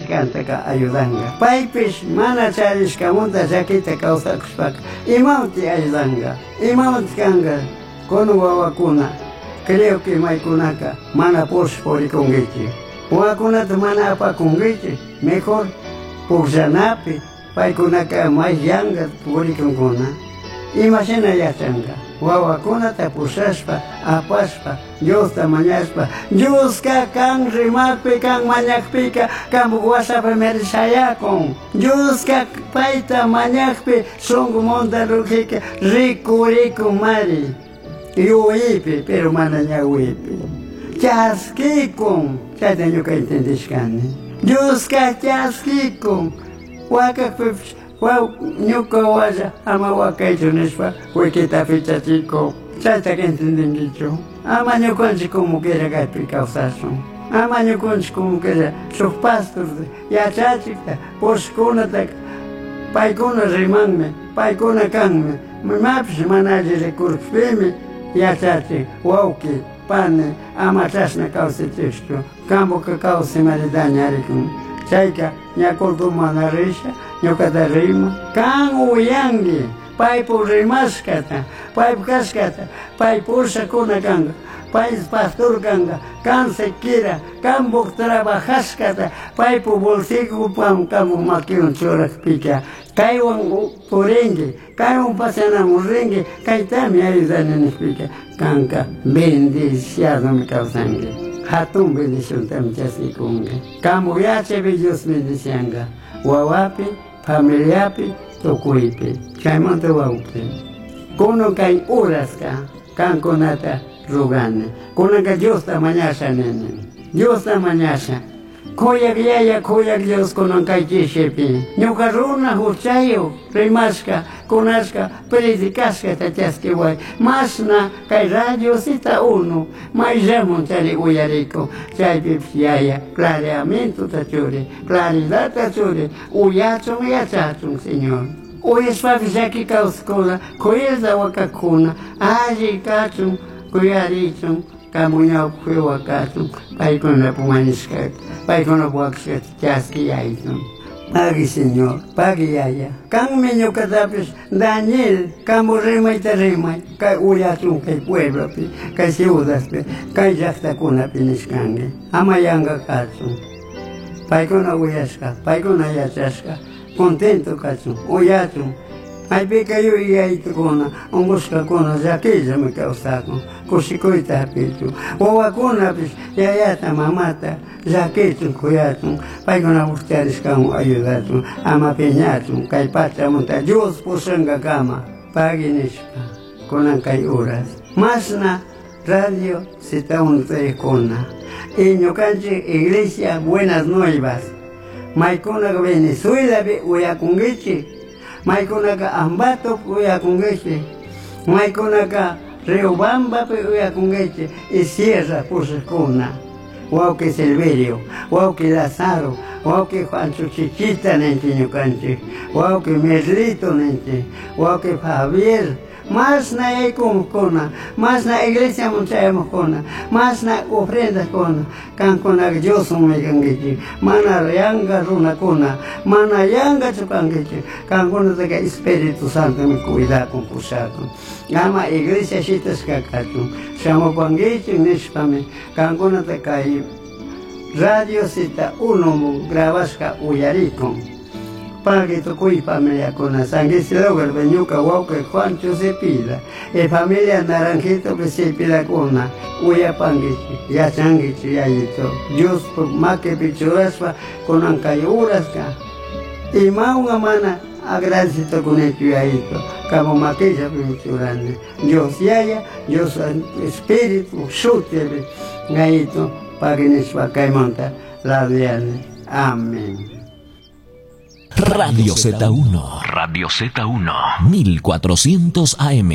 Kantaka ayudanga. Paypish mana charishkamanta llakita kawsakushpaka imawanti ayudanga, imawanti kanga kunan wawakuna. Creo que maykunaka mana purish purikunkichik. Wawakunata mana apakunkichik, mejor pukllanapi paykunaka may yanka purikunkuna. Imashina yachanka wawakunata pushashpa apashpa Diosta mañashpa Dioska kan rimakpi kan mañakpika kanpuk wasapimi shayakun. Dioska payta mañakpi shunkumanta rukika rikurikunmari yuyaypi pero mana ñawipi. Chaskikun chayta ñuka entendishkani. Dioska chaskikun wakakpipish ñuka walla ama wakaychu nishpa wikita pichachikun. Chaytaka entendinkichu. Ama ñukanchik como quiera kaypi kawsashun. Ama ñukanchik como quiera shuk pastor yachachikta pushkunataka paykuna rimanmi, paykuna kanmi. Imapish mana alli rikurkpimi yachachin wawki pani ama chashna kawsachishchu. Kampuka kawsimari dañarikun. Chayka ña culto mana risha ñukata rima. Kan uyanki paypuk rimashkata, paypuk kashkata, pay pushakuna kanka, pay pastor kanka, kan siquiera kanpuk trabajashkata paypuk bolsillopi kanpuk makiwan churakpika kaywan purinki, kaywan paseanamun rinki, kaytami ayudani nishpika kanka bendiciadomi kawsanki. Hatun bendiciontami chaskikunki. Kanpuk yachaypi Dios bendicianka, wawapi, familiapi, tukuypi. Chaymanta wawqi. Kunan kay uraska kankunata rugani. Kunanka Diosta mañasha nini. Diosta mañasha. Kuyak yaya, kuyak Dios kunan kay chishipi. Ñuka runa huchayuq rimashka, kunashka, predicashkata chaskiway. Mashna kay Radio Zeta 1 mayllamun chari uyarikun. Chaypipish yaya clareamientota churi, claridadta churi, uyachun yachachun, Señor. Uyashpapish llaki kawsakuna, kuyayta wakakuna, alli kachun, kuyarichun, kanpuk ñawpakpi wakachun, paykunapuk mañashkata, paykunapuk wakashkata chaskiyaychun. Pagui Señor, pagui yaya. Kanmi ñukatapish Daniel, kanpuk rimayta rimay, kay uyachun kay pueblopi, kay ciudadpi, kay llaktakunapi nishkanki. Ama yanka kachun. Paykuna uyashka, paykuna yachashka, contento kachun, uyachun. Maypika yuyaytukuna, unqushkakuna llakillami kawsakun, kushikuyta hapichun. Wawakunapish yayata, mamata llakichun, kuyachun, paykunapuk charishkawan ayudachun, ama piñachun, kay pachamunta Dios pushankakama, pagui nishpa, kunan kay uras. Mashna Radio Zeta 1 kuna. Y ñukanchik Iglesia Buenas Nuevas. Maykunaka Venezuelapi uyakunkichik, maykunaka Ambatopi uyakunkichik, maykunaka Riobambapi uyakunkichik y Sierra pushakuna. Wawqi Silverio, wawqi Lazaro, wawqi Juancho Chichita ninchik ñukanchik, wawqi Merlito ninchik, wawqi Javier, mashna yaykumuqkuna, mashna iglesiaman chayamuqkuna, mashna ofrendakuna, kankunaka Dioswanmi kankichik, mana yanka runakuna, mana yankachu kankichik, kankunataka Espíritu Santomi cuidakun, pushakun. Ama iglesia shitashka kachun, shamupankichik nishpami kankunata kay Radio Zeta 1 grabashka uyarikun. Pagui tukuy familiakuna, San Isidro ñuka wawqi Juancho Cepida, y familia Naranjito Cepidakuna, uyapankichik, yachankichik yayito, Diospuk makipi churashpa kunan kay uraska. Imawan mana agradecido kunichu yayito, kanpuk makillapi churani. Dios yaya, Dios Espíritu shutipi, yayito, pagui nishpa kaymanta labiani. Amén. Radio Z1. Radio Z1. 1400 AM.